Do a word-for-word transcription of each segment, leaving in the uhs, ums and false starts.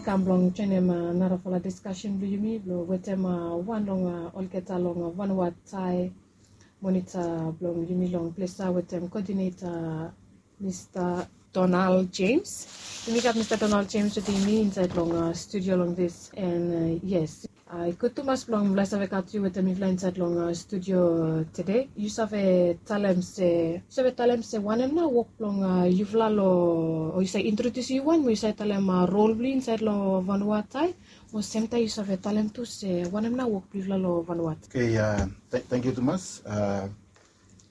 Kam blong joinim narafala diskasen blong yumi blong wetem wan long olgeta long Vanuatai, monita blong yumi long ples ya wetem kodineta Mista Donald James. Yumi gat Mista Donald James wetem yumi insaed long studio long this. And yes, i gud tumas blong mifala i save gat yu wetem mifala insaed long studio tede. Yu save talem se yu save talem se wanem nao wok blong yufala long, o yu save introdiusim yu wan mo yu save talem rol blong yu insaed long Vanuatai, mo semtaem yu save talem tu se wanem nao wok blong yufala long Vanuatai. Okay, tangkiu tumas.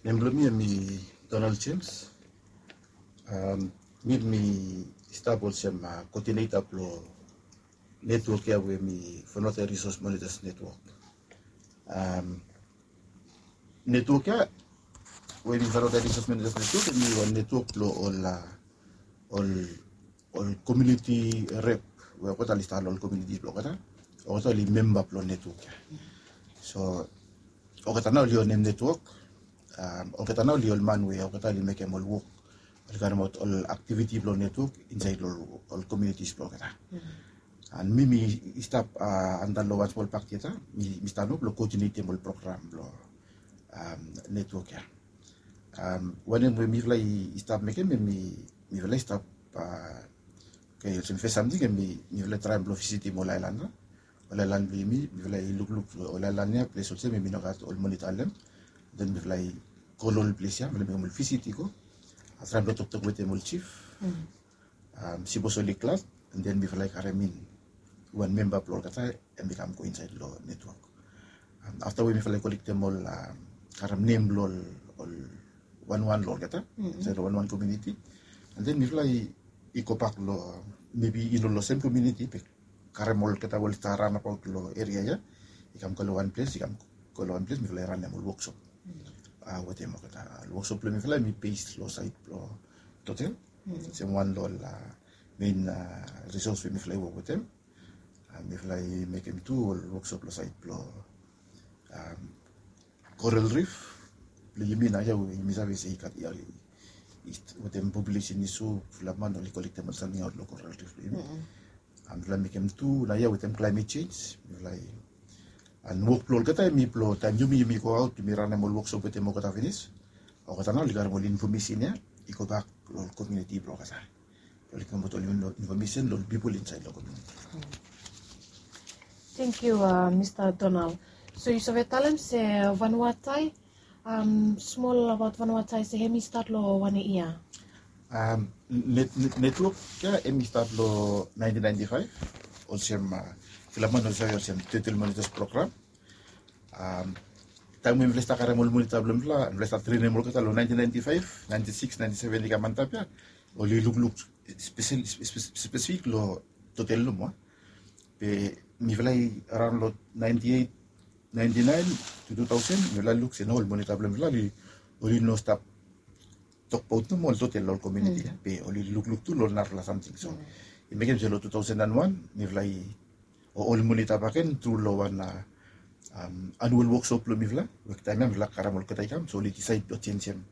Nem blong mi hemi Donald James. Mi mi stap olsem kodineta blong netwok ya we hemi Vanuatai Resource Monitors Network. Netwok ya we hemi Vanuatai Resource Monitors Network hemi wan netwok blong ol ol komuniti rep we olgeta oli stap long ol komuniti blong olgeta. Olgeta oli memba blong netwok ya. So olgeta nao oli onem netwok. Olgeta nao oli ol man we olgeta oli mekem ol wok, oli karemaot ol aktiviti blong netwok insaed long ol komunitis blong olgeta. And mi mi stap antap long wan smol pak ya. Mi stap nao blong koodinetem ol program blong netwok ya. Wanem we mifala i stap mekem hemi mifala i stap, okay, olsem fes samting hemi mifala i traem blong visitim ol aelan ya. Ol aelan blong yumi, mifala i lukluk ol aelan ya ples olsem hemi no gat ol monita long hem. Den mifala i go long ol ples ya, mifala i mekem ol visit i go. Traem blong toktok wetem ol jif. Sipos oli glad, and then mifala i karem in wan memba blong olgeta, hemi kam go insaed long netwok. Afta we mifala i kolektem ol, karem nem blong ol wanwan long olgeta insaed long wanwan komuniti, and then mifala i gobak long, mebi i no long sem komuniti be karem olgeta we oli stap raonabaot long eria ya, i kam go long wan ples, i kam go long wan ples, mifala i ranem ol woksop wetem olgeta. Ol woksop blong mifala hemi bes long saed blong Totel. Olsem wan long ol mein risos we mifala i wok wetem. Mifala i mekem tu ol woksop long saed blong Coral Reef blong yumi naoia we yumi save se i gat, wetem populesen i so, fulap man oli kolektem ol samting aot long Coral Reef blong yumi. Mifala i mekem tu naoia wetem klaemet jenj. Mifala i, and wok blong olgeta hemi blong taem yumi yumi go aot, yumi ranem ol woksop wetem olgeta finis, olgeta nao oli karem ol infomesen ya i gobak long ol komuniti blong olgeta. Oli givim aot ol infomesen long ol pipol insaed long komuniti. Tangkiu, Mista Donald. So yu save talem se Vanuatai, smol abaot Vanuatai se hemi stat long wanem yia? Netwok ya hemi stat long naentin naenti faef, olsem fulap man oli save olsem Total Monitors Program. Taem we mifala i stap karem ol monita blong mifala, mifala i stap trenem olgeta long naentin naenti faef, naenti sikis, naenti seven i kam antap ya, oli lukluk spesifik long Total nomo. Be mifala i raon long naenti eit, naenti naen tu tu taosen, mifala i luk se nao ol monita blong mifala oli no stap tokbaot nomo ol Total long ol komuniti ya, be oli lukluk tu long ol narafala samting. So i mekem se long tu taosen and wan mifala i, o, oli monita bakegen tru long wan anual woksop blong mifala, we taem ya mifala karem olgeta i kam, so oli disaed blong jenjem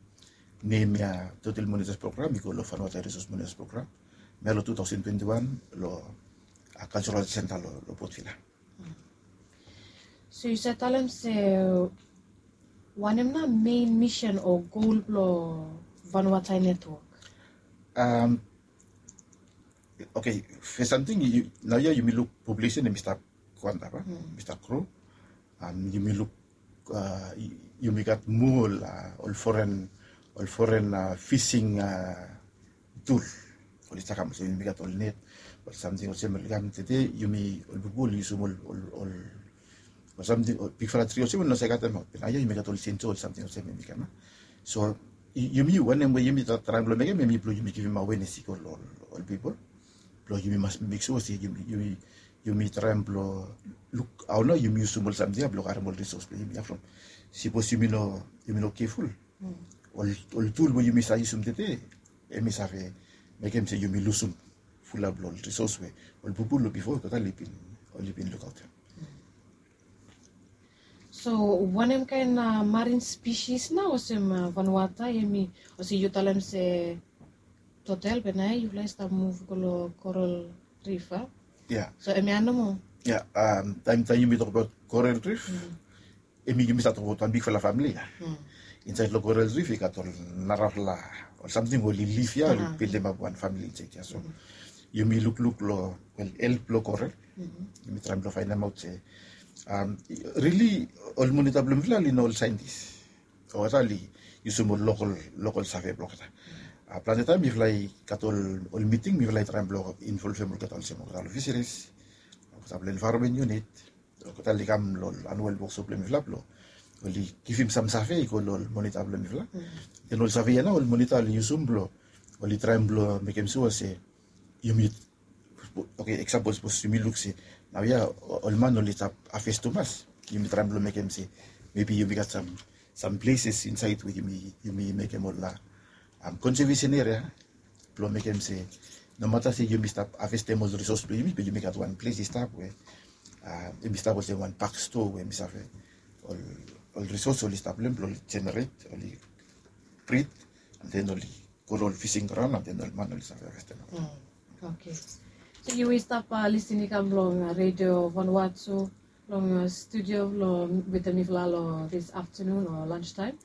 nem ya, Total Monitors Program i go long Vanuatai Resource Monitors Program. Hem ya long tu taosen twenti wan long Cultural Centre long Port Vila. So yu save talem se wanem nao mein misen o gol blong Vanuatai Netwok? Okei, fes samting, naoia yumi luk populesen hemi stap go antap, hemi stap gro. Yumi luk, yumi gat moa ol foren, ol foren fising tul oli stap kam olsem, yumi gat ol net, ol samting olsem oli kam tede, yumi ol pipol oli yusum ol, ol, ol, ol samting, ol bigfala tri olsem oli no save katem aot. Be naoia yumi gat ol senso, ol samting olsem hemi kam. So yumi, wanem we yumi traem blong mekem hemi blong yumi givim awenes i go long ol pipol blong yumi mas mek sua se yumi, yumi traem blong luk hao nao yumi yusum ol samting ya blong karem ol risos blong yumi ya from, sipos yumi no, yumi no keful, ol, ol tul we yumi save yusum tede hemi save mekem se yumi lusum fulap long ol risos we ol pipol long bifo olgeta oli bin, oli bin lukaotem. So wanem kaen marin species nao olsem Vanuatai hemi, olsem yu talem se Total, be naoia yufala i stap muv go long Coral Reef, a? Ya. So hemia nomo. Ya, taem taem yumi tokbaot Coral Reef, hemi yumi save tokbaot wan bigfala famili ya. Insaed long Coral Reef i gat ol narafala ol samting we oli liv ya, oli bildimap wan famili insaed ya. So yumi lukluk long, wel, help blong Coral. Yumi traem blong faenemaot se rili ol Monita blong mifala oli no ol saentis. Olgeta oli yusum ol lokol, lokol save blong olgeta. Plante taem mifala i gat ol, ol miting, mifala i traem blong involvem olgeta olsem olgeta long fisheries, olgeta blong environment unit, olgeta oli kam long ol anual workshop blong mifala blong oli givim sam save i go long ol Monita blong mifala. Den ol save ya nao ol Monita oli yusum blong oli traem blong mekem sua se yumi, oke, eksampol, sapos yumi luk se naoia ol man oli stap havest tumas, yumi traem blong mekem se mebi yumi gat sam, sam pleses insaed we yumi, yumi mekem ol konsevesen eria blong mekem se nomata se yumi stap havestem ol risos blong yumi, be yumi gat wan ples i stap we yumi stap olsem wan pak stoa we yumi save ol, ol risos oli stap long hem blong oli jeneret, oli brid, an den oli go long ol fising graon, an den ol man oli save havestem. Oke. So yu i stap lisin i kam long redio Vanuatu long studio long wetem mifala long this afternoon o lunch taem.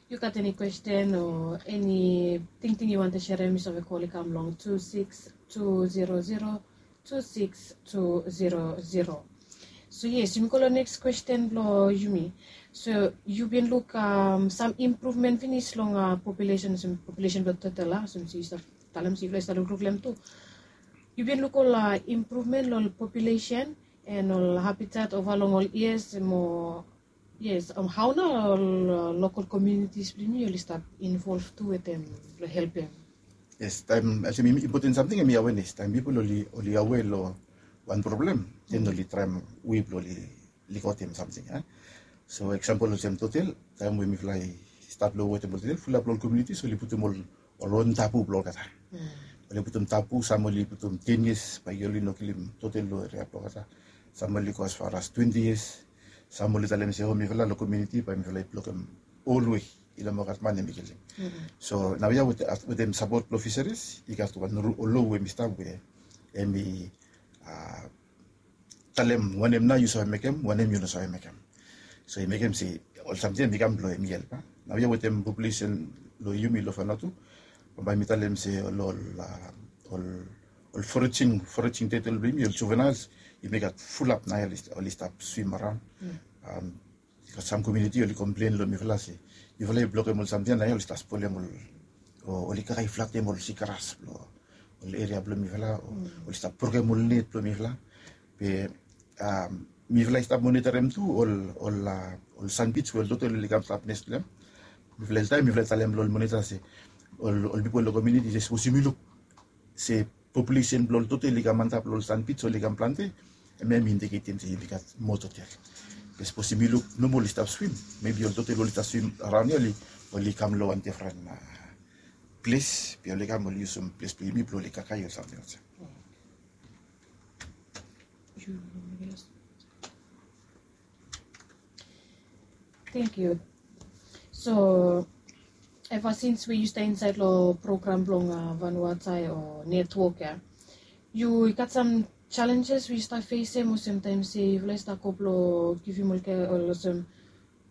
Yu gat eni kwesten o eni tingting yu wantem serem, yu save kol i kam long tu sikis tu zero zero tu sikis tu zero zero. So yes, yumi go long neks kwesten blong yumi. So yu bin luk sam impruvmen finis long populesen, populesen blong total a, olsem se yu stap talem se yufala i stap lukluk long hem tu. Yu bin luk ol impruvmen long ol populesen and ol habitat ova long ol yias mo Yes, hao nao ol lokol komunitis blong yumi oli stap involv tu wetem long helpem? Yes, taem olsem impoten samting hemi awenes. Taem pipol oli, oli awe long wan problem, den oli traem we blong oli likotem samting. So eksampol olsem Totel, taem we mifala i stat long wetem ol Totel, fulap long ol komunitis oli putum ol ol on tabu blong olgeta. Oli putum tabu, sam oli putum ten yias bae oli no kilim Totel long eria blong olgeta. Sam oli go as far as twenti yias. Sam oli talem se o mifala long komuniti bae mifala i blokem olwe i no moa gat man hemi kilim. So naoia wetem sapot blong fiseris i gat wan lo we hemi stap we hemi talem wanem nao yu save mekem, wanem yu no save mekem. So i mekem se ol samting hemi kam blong hemi help. Naoia wetem populesen blong yumi long Vanuatu, bambae mi talem se ol, ol, ol foraging, foraging turtle blong yumi, ol juveniles, yumi gat fulap naoia oli stap swim araon. I gat sam komuniti oli komplen long mifala se mifala i blokem ol samting ya, naoia oli stap spolem ol, o oli kakae flatem ol sigras blong ol eria blong mifala, o oli stap brokem ol net blong mifala. Be mifala i stap monitorem tu ol, ol, ol sanbij we ol Totel oli kam stap nes long hem. Mifala i talem, mifala i talem long ol monita se ol, ol pipol long komuniti se sapos yumi luk se populesen blong ol Totel i kam antap long ol sanbij, oli kam plante, hemia hemi indiketem se yumi gat moa Totel. Be sapos yumi luk nomo oli stap swim, mebi ol Totel oli stap swim araon ya, oli, oli kam long wan difren ples, be oli kam oli yusum ples blong yumi blong oli kakae o samting olsem. Thank you. So eva sins we yu stap insaed long program blong Vanuatu o netwok ya, yu i gat sam jalenjes we yu stap fesem olsem taem se yufala i stap go blong givim ol, olsem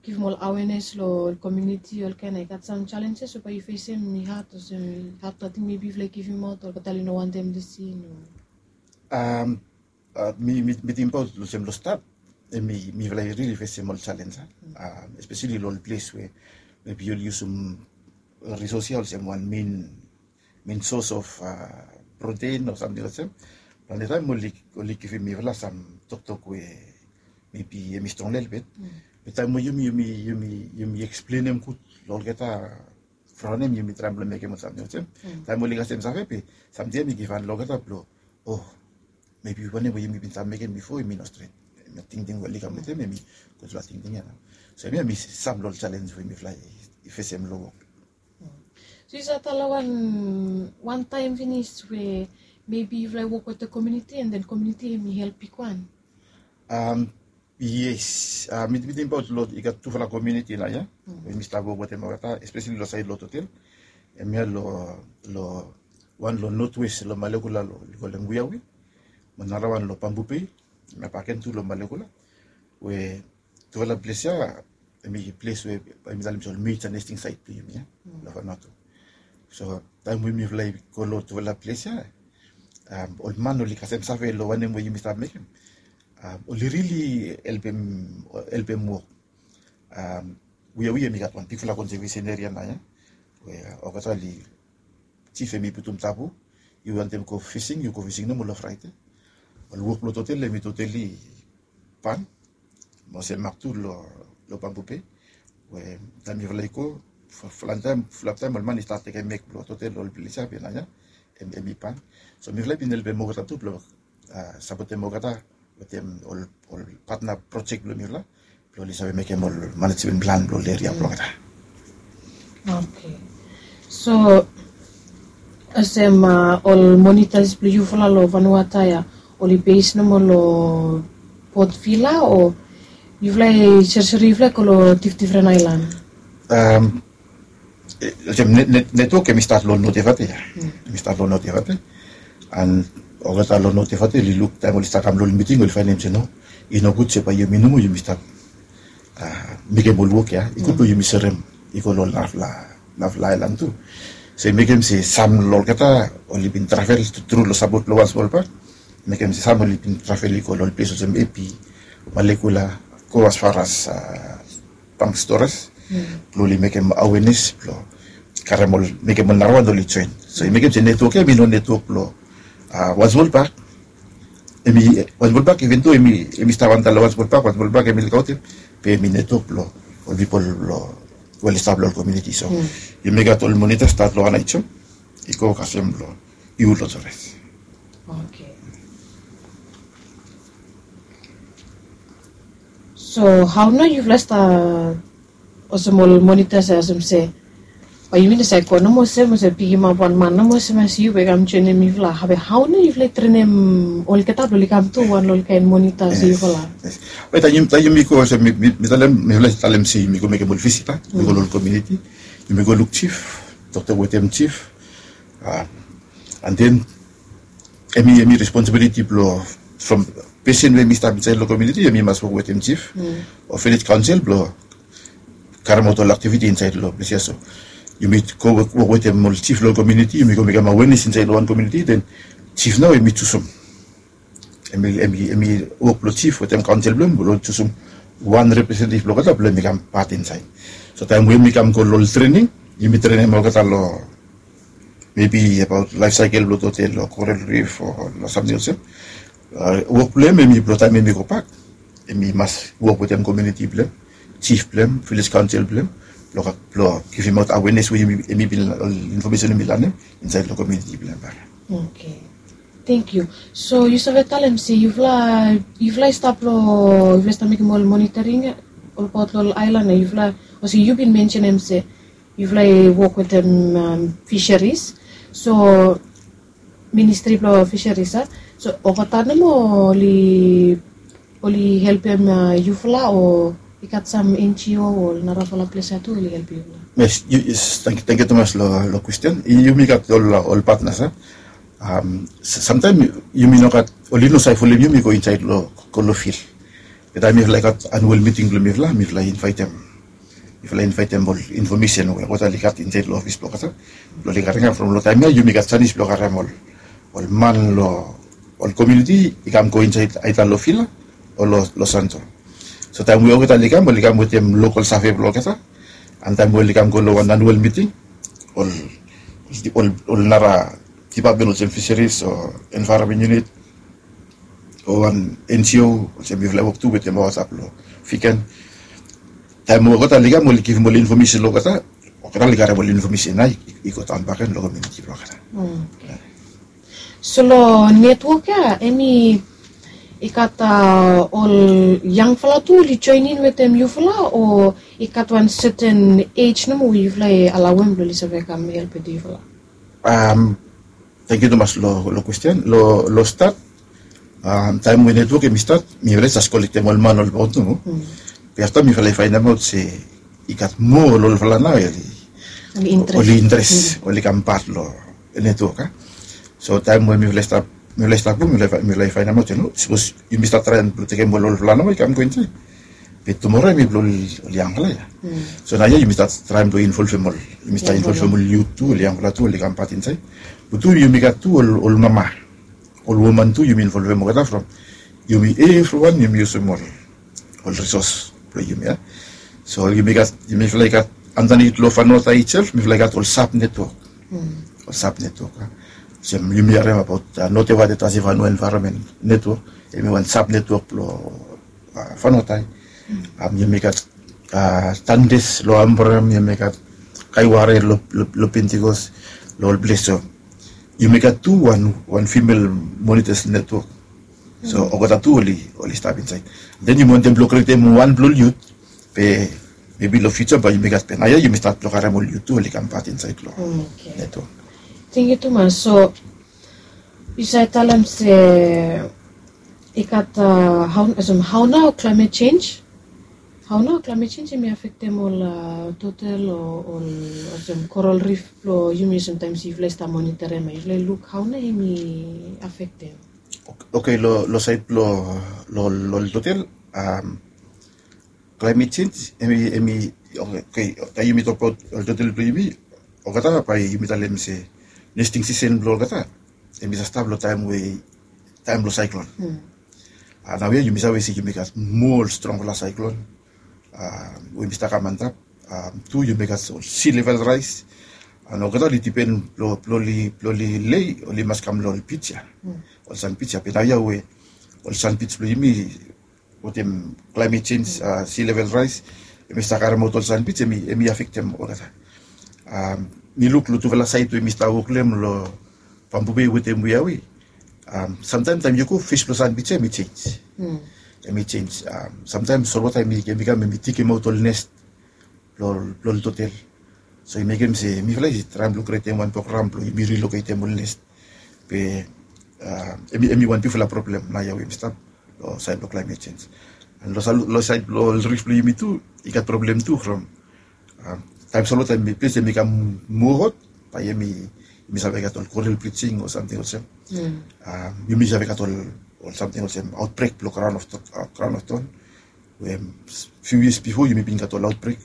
givim ol awenes long ol komuniti, ol kaen, i gat sam jalenjes we bae yu fesem, i had olsem, i had nating mebi yufala i givimaot, olgeta oli no wantem lisin o? Mi, mi, mi tingbaot olsem long stat, hemi, mifala i rili fesem ol jalenj, espeseli long ol ples we mebi oli yusum risos ya olsem wan mein, mein sos of protein o samting olsem. Plante taem oli, oli givim mifala sam toktok we mebi hemi strong lelebet. Be taem we yumi, yumi, yumi, yumi eksplenem gud long olgeta from hem yumi traem blong mekem ol samting olsem. Taem oli kasem save be samting ya hemi givhan long olgeta blong, o, mebi wanem we yumi bin save mekem bifo hemi no stret. Hemia tingting we oli kam wetem hemi gudfala tingting ya nao. So hemia hemi sam long ol jalenj we mifala i fesem long wok. So yu save talem wan, wan taem finis we mebi yufala i wok wetem komuniti and then komuniti hemi help bigwan? Yes, mi, mi tingbaot long, i gat tufala komuniti naoia we mi stap wok wetem olgeta, espeseli long saed long Totel. Hemia long, long wan long notwes long Malekula long oli kolem Wiawi. narawan long Bamboo Bay, na baken tu long Malekula, we tufala ples ya, hemi ples we hemi talem se ol major nesting site blong yumi ya, long Vanuatu. So taem we mifala i go long tufala ples ya, ol man oli kasem save long wanem we yumi stap mekem, oli rili helpem, helpem wok. Wia wia hemi gat wan bigfala konseveson eria naoia, we olgeta oli, jif hemi putum tabu, yu wantem go fising, yu go fising nomo long Fraede. Ol wok blong hotel hemi totally ban. Mo olsem mak tu long Bamboo Bay, we taem yufala i go, fulap taem, fulap taem ol man i stat tekem mek blong hotel, ol ples ya be naoia hemi ban. So mifala i bin helpem olgeta tu blong sapotem olgeta wetem ol, ol patna projek blong mifala, blong oli save mekem ol manejmen plan blong ol eria blong olgeta. Oke. So olsem ol monitas blong yufala long Vanuatu ya, oli bes nomo long Port Vila, o yufala i sorisori yufala i go long difdifren aelan? Olsem netwok hemi stat long Notevate ya. Hemi stat long Notevate. And olgeta long Notevate oli luk, taem oli stat kam long ol miting oli faenem se no, i nogud se bae yumi nomo yumi stap mekem ol wok ya, i gud blong yumi serem i go long narafala, narafala aelan tu. So i mekem se sam long olgeta oli bin travel tru long sapot blong Wan Smol Bak. Mekem se sam oli bin travel i go long ol ples olsem Epi, Malekula, go as far as Banks Torres, blong oli mekem awenes blong karem ol, mekem ol narawan oli joen. So i mekem se netwok ya hemi no netwok blong Wan Smol Bak. Hemi Wan Smol Bak, even though hemi stap antap long Wan Smol Bak, Wan Smol Bak hemi lukaotem, be hemi netwok blong ol pipol blong, we oli stap long ol komuniti. So yumi gat ol monitas stat long Aneityum i go kasem long Ihu long Torres. Oke. So hao nao yufala i stat olsem ol monitas ya, olsem se bae yumi no save go nomo olsem, olsem pikimap wan man nomo olsem se yu bae kam joenem yufala? Be hao nao yufala i trenem olgeta blong oli kam tu wan long ol kaen monitas ya yufala? Be taem yumi go olsem, mi talem, mifala i talem se yumi go mekem ol visit, yumi go long ol komuniti, yumi go luk jif, toktok wetem jif. And then hemi, hemi responsibility blong, from pesen we hemi stap insaed long komuniti, hemi mas wok wetem jif o vilej kaonsel blong karemaot ol aktiviti insaed long ples ya. So yumi go wok wetem ol jif long komuniti, yumi go mekem awenes insaed long wan komuniti, then jif nao hemi jusum, hemi, hemi wok blong jif wetem kaonsel blong hem blong jusum wan representetiv blong olgeta blong hemi kam pat insaed. So taem we hemi kam go long ol trening, yumi trenem olgeta long mebi abaot laef saekel blong hotel o koral rif o long samting olsem. Wok blong hem hemi blong taem hemi gobak, hemi mas wok wetem komuniti blong hem, jif blong hem, vilej kaonsel blong hem, blong givimaot awenes we hemi bin, ol infomesen hemi lanem insaed long komuniti blong hem bak. Oke. Tangkiu. So yu save talem se yufala, yufala i stap long, yufala i stap mekem ol monitoring ya olbaot long ol aelan ya, yufala, olsem yu bin mensenem se yufala i wok wetem fisheries. So ministri blong fisheries ya, so olgeta nomo oli, oli helpem yufala o i gat sam NGO o narafala ples ya tu oli helpem yufala? Yes, tangkiu tumas long kwesten. Yumi gat ol, ol patnas ya. Samtaem yumi no gat, oli no save folem yumi go insaed long, go long fil. Be taem mifala i gat anual miting blong mifala, mifala i invaetem, mifala i invaetem ol infomesen we olgeta oli gat insaed long ofis blong olgeta blong oli karim. From long taem ya yumi gat janis blong karem ol, ol man long ol komuniti i kam go insaed aeda long fil o long santo. So taem we olgeta oli kam, oli kam wetem lokol save blong olgeta. And taem we oli kam go long wan anual miting, ol, ol nara dipatmen olsem fisheries o envaeronmen yunit o wan NGO olsem mifala i wok tu wetem, olsem long Viken. Taem we olgeta oli kam, oli givim ol infomesen long olgeta, olgeta oli karem ol infomesen ya i go daon bakegen long komuniti blong olgeta. So long netwok ya hemi i gat ol yangfala tu oli joenem wetem yufala, o i gat wan seten ej nomo we yufala i alaoem blong oli save kam helpem yufala? Tangkiu tumas long kwesten. Long stat, taem we netwok hemi stat, mifala i jes kolektem ol man olbaot nomo. Be afta mifala i faenemaot se i gat moa ol olfala nao oli, oli interes, oli kam pat long netwok ya. So taem we mifala i stap Mifala i stap go, mifala i fainamaot, yu no, sapos yumi stap traem blong tekem ol olfala nomo i kam go insaed, be tumora hemi blong ol yangfala ya. So naoia yumi stap traem blong involvem ol, yumi stap involvem ol yut tu, ol yangfala tu oli kam pat insaed. Be tu yumi gat tu ol mama, ol woman tu yumi involvem olgeta from yumi evriwan yumi yusum ol ol risos blong yumi ya. So yumi gat, yumifala i gat andanit long Vanuatu itself mifala i gat ol sub network. Ol sub network ya. Olsem yumi harem abaot Notewadetasi Vanua Environment Network, hemi wan sub network blong Vanuatu. Yumi gat Tangdes long Ambaram, yumi gat Kaiware long Pentecost, long ol ples. So yumi gat tu wan female monitors network. So olgeta tu oli stap insaed. Den yumi wantem blong krietem wan blong ol yut, be mebi long fiuja bae yumi gat, be naoia yumi stat blong karem ol yut tu oli kam pat insaed long network. Tangkiu tumas. So yu save talem se i gat, hao nao climate change, hao nao climate change hemi afektem ol total o ol, olsem coral reef blong yumi, samtaem yufala i stap monitorem, yufala i luk hao nao hemi afektem? Oke, long saed blong ol total, climate change hemi, hemi, oke, taem yumi tokbaot ol total blong yumi, olgeta bae yumi talem se nesting sisen blong olgeta hemi save stap long taem we, taem blong saeklon. Naoia yumi save se yumi gat moa ol strongfala saeklon we hemi stap kam antap. Tu yumi gat ol sea level rise, and olgeta oli dipen blong oli lei, oli mas kam long ol beach ya, ol sand beach ya. Be naoia we ol sand beach blong yumi, wetem climate change, sea level rise, hemi stap karemaot ol sand beach, hemi afektem olgeta. Mi luk long tufala saed we mi stap wok long hem, long Bamboo Bay wetem Waiawe. Samtaem taem yu go, fes blong sand beach ya hemi jenis, hemi jenis. Samtaem solwota hemi kam, hemi tikemaot ol nest blong ol total. So i mekem se mifala i traem blong krietem wan program blong yumi riloketem ol nest. Be hemi wan bigfala problem naoia we yumi stap long saed blong climate change. And long saed blong ol reef blong yumi tu, i gat problem tu from taem solwota, ples hemi kam moa hot, bae yumi save gat ol coral bleaching o samting olsem. Yumi save gat ol samting olsem outbreak blong crown of thorn, we few years before yumi bin gat ol outbreak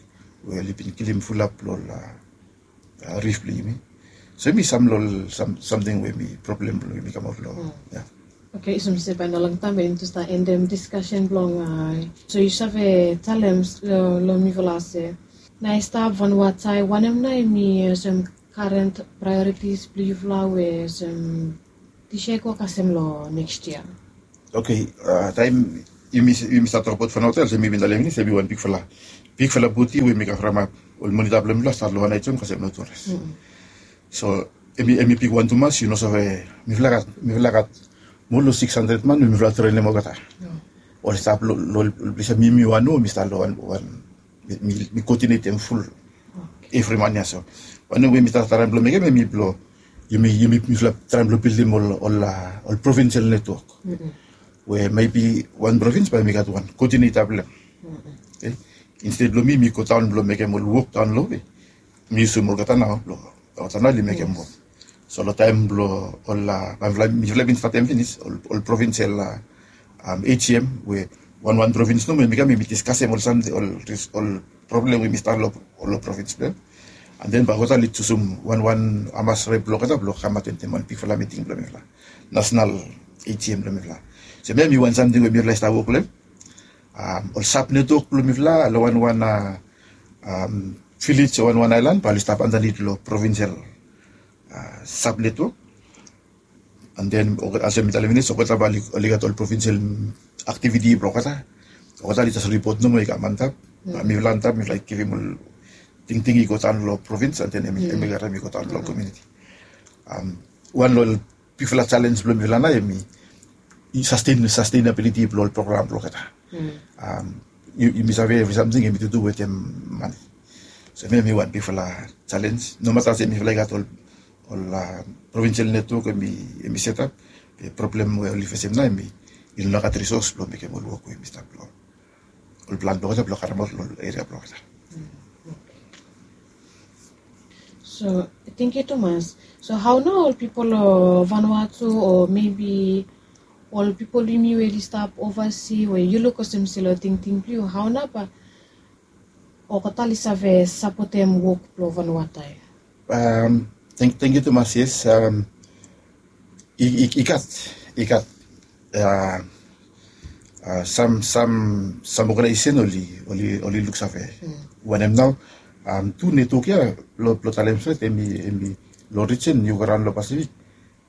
we oli bin kilim fulap blong ol reef blong yumi. So hemi sam long ol samting we hemi problem blong yumi kamaot long, ya. Oke, olsem se bae nao longtaem bae yumi tu stap endem discussion blong, so yu save talem long mifala se, naoia i stap Vanuatu, wanem nao hemi olsem current priorities blong yufala we olsem dis yia i go kasem long next yia? Oke, taem yumi stap tokbaot Vanuatu, olsem mi bin talem finis, hemi wan bigfala, bigfala bodi we hemi kavramap ol monita blong mifala, stat long One Eye John kasem long Torres. So hemi bigwan tumas, yu no save, mifala gat, mifala gat moa long six hundred man we mifala trenem olgeta. Oli stap long ol ples ya, mi, mi wan we mi stap long wan, mi koodinetem ful evri man ya. So wanem we mi stap traem blong mekem hemi blong yumi, yumi, mifala traem blong bildim ol, ol provincial network, we mebi wan provins bae hemi gat wan koodineta blong hem. Oke. Insted blong mi, mi godaon blong mekem ol wok daon long we mi yusum olgeta nao blong olgeta nao oli mekem wok. So long taem blong ol, bae mifala bin statem finis ol provincial AGM, we wanwan provins nomo hemi kam, hemi diskasem ol samting, ol problem we hemi stap long provins blong hem. And then bae olgeta oli jusum wanwan hamas rep blong olgeta blong kam atentem wan bigfala miting blong mifala, nasenal AGM blong mifala. So hemia hemi wan samting we mifala i stap wok long hem. Ol sub network blong mifala long wanwan vilej o wanwan aelan bae oli stap andanit long provincial sub network. And then olsem mi talem finis, olgeta bae oli gat ol provincial activity blong olgeta. Olgeta oli jes ripot nomo, i kam antap. Bae mifala antap, mifala givim ol tingting i godaon long provins, and then hemi karem i godaon long komuniti. Wan long ol bigfala jalenj blong mifala nao hemi sustenabiliti blong ol program blong olgeta. Yumi save evri samting hemi tutu wetem mane. So hemia hemi wan bigfala jalenj. Nomata se mifala i gat ol provincial network hemi setap, be problem we oli fesem nao hemi i no gat risos blong mekem ol wok we hemi stap long ol plan blong olgeta blong karemaot long ol eria blong olgeta. So Thank you tumas. So hau nao ol pipol long Vanuatu o maybe ol pipol blong yumi we oli stap ovasi we yu luk olsem se long tingting blong yu, hau nao ba olgeta oli save sapotem wok blong Vanuatu ia? Thank you tumas. Yes, i gat, i gat sam sam sam oganaesesen oli oli luksave wanem nao tu netwok ia blong talem stret em i long rijen yu go raon long Pasifik.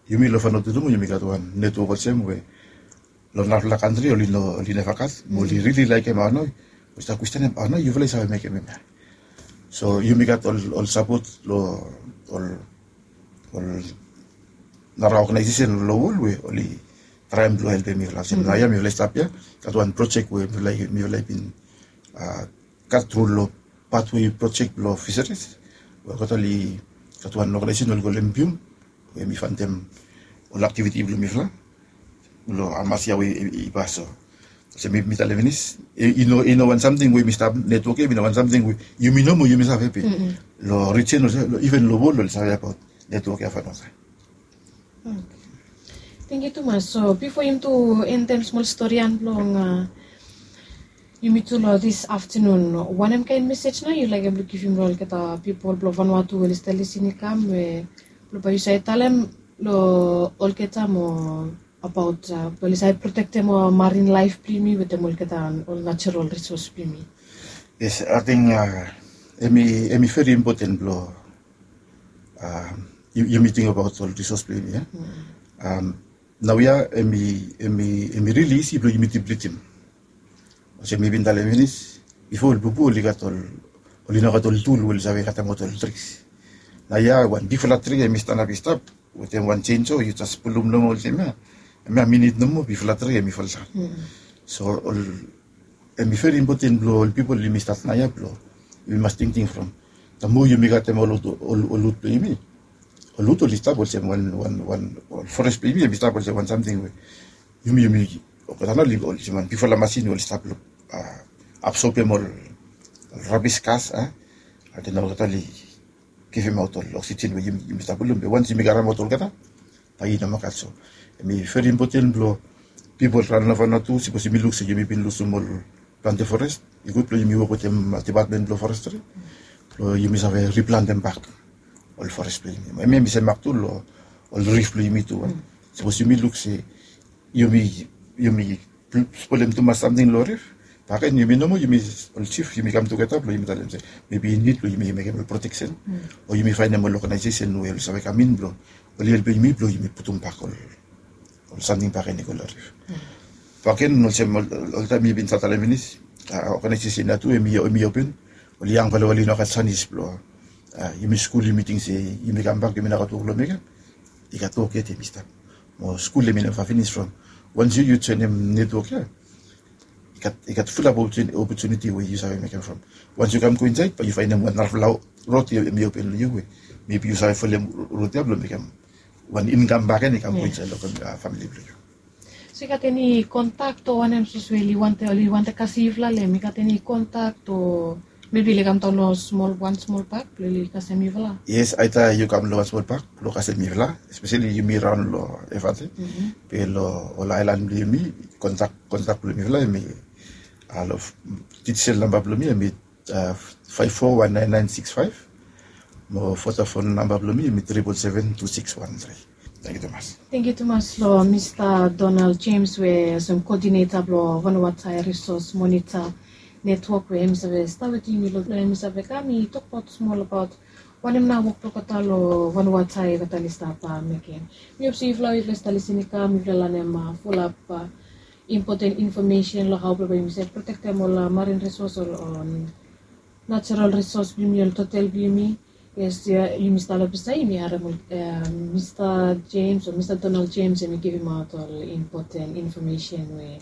Yumi long Vanuatu tu mo yumi gat wan netwok olsem we long narafala kantri oli no oli neva gat mo oli rili laekem aono. Oli stap kwestenem aono yufala i save mekem em ia. So yumi gat ol sapot long ol ol nara oganaesesen long wol we oli traem blong helpem mifala olsem nao ia mifala i stap ia gat wan projek we mifala i bin gat tru long patwei projek blong fiseris we olgeta oli gat wan oganaesesen oli kolem bium we mi fantem ol aktiviti blong mifala long hamas ia we i pas. So olsem mi talem finis i no i no wan samting we mi stap netwok ia i no wan samting we yumi nomo yumi save pe long rijen olsem iven long wol oli save abaot netwok ia Vanuatu. Thank you tumas. So bifo yumi tu endem smol storian blong yumi tu long this afternoon, wanem kain mesej nao yu laekem blong givim long olgeta pipol blong Vanuatu we oli stap lisin i kam we blong bae yu save talem long olgeta mo abaot blong oli save protektem ol marin laef blong yumi wetem olgeta ol natural risos blong yumi? Yes, ating em i em i veri impoten blong yumi ting abaot ol risos blong yumi ia. Nao ia em i em i em i rili isi blong yumi diplitim. Olsem mi bin talem finis bifo ol bubu oli gat ol oli no gat ol tul we oli save katem aot ol tris. Nao ia wan bigfala tri em i stanap i stap wetem wan jenso yu jes pulum nomo olsem ia. Em ia minit nomo bigfala tri em i foldaon. So ol em i veri impoten blong ol pipol yumi stat nao ia blong yumi mas tingting from taem moa yumi katem ol ol ol wut blong yumi. Ol wut oli stap olsem wan wan wan ol fores blong yumi em i stap olsem wan samting we yumi yumi olgeta nao oli olsem wan bigfala masin we oli stap long absobem ol rabis gas a. Ating olgeta oli givimaot ol oksijen we yumi stap pulum be wans yumi karemaot olgeta bae i no makat. So em i veri impoten blong pipol raon long Vanuatu sipos yumi luk se yumi bin lusum ol plante fores i gud blong yumi wok wetem dipatmen blong forestri blong yumi save riplantem bak ol fores blong yumi. Em em i semak tu long ol rif blong yumi tu. Sipos yumi luk se yumi yumi spolem tumas samting long rif baken yumi nomo yumi ol jif yumi kam tugeta blong yumi talem se mebi i nid blong yumi mekem ol proteksen o yumi faenem ol oganaesesen we oli save kam in blong oli helpem yumi blong yumi putum bak ol ol samting baken i go long rif. Baken olsem oltaem mi bin save talem finis oganaesesen ya tu em i open. Ol yangfala we oli no gat sanis blong yumi skul yumi ting se yumi kambak yumi no gat wok long mekem. I gat wok yet em i stap mo skul em i neva finis from wans yu yu joenem netwok ya i gat i gat fulap opotuniti we yu save mekem from wans yu kam go insaed bae yu faenem wan narafala rod ya em i open long yu we mebi yu save folem rod ya blong mekem wan inkam baken i kam go insaed long famili blong yu. So i gat eni kontak o wanem sapos we oli wantem oli wantem kasem yufala long em i gat eni kontak o mebi oli kam daon long smol wan smol pak blong oli kasem yufala? Yes, aeta yu kam long wan smol pak blong kasem yufala espeseli yumi raon long evate be long ol aelan blong yumi kontak kontak blong mifala em i long digisel namba blong mi em i faef fo wan naen naen sikis faef. Mo fotafon namba blong mi em i tripol seven tu sikis wan tri. Tangkiu tumas. Tangkiu tumas long mista Donald James we olsem kodineta blong Vanuatu Risos Monita Netwok we em i save stap wetem yumi long em i save kam i tokbaot smol abaot wanem nao wok blong olgeta long Vanuatu olgeta oli stap mekem. Mi hop se yufala we yufala i stap lisin i kam yufala i lanem fulap impoten infomesen long hao blong bae yumi save protektem ol marin risos o natural risos blong yumi ol totel blong yumi. Yes, yumi stap long ples ya yumi harem ol mista Jems o mista Donald Jems em i givimaot ol impoten infomesen we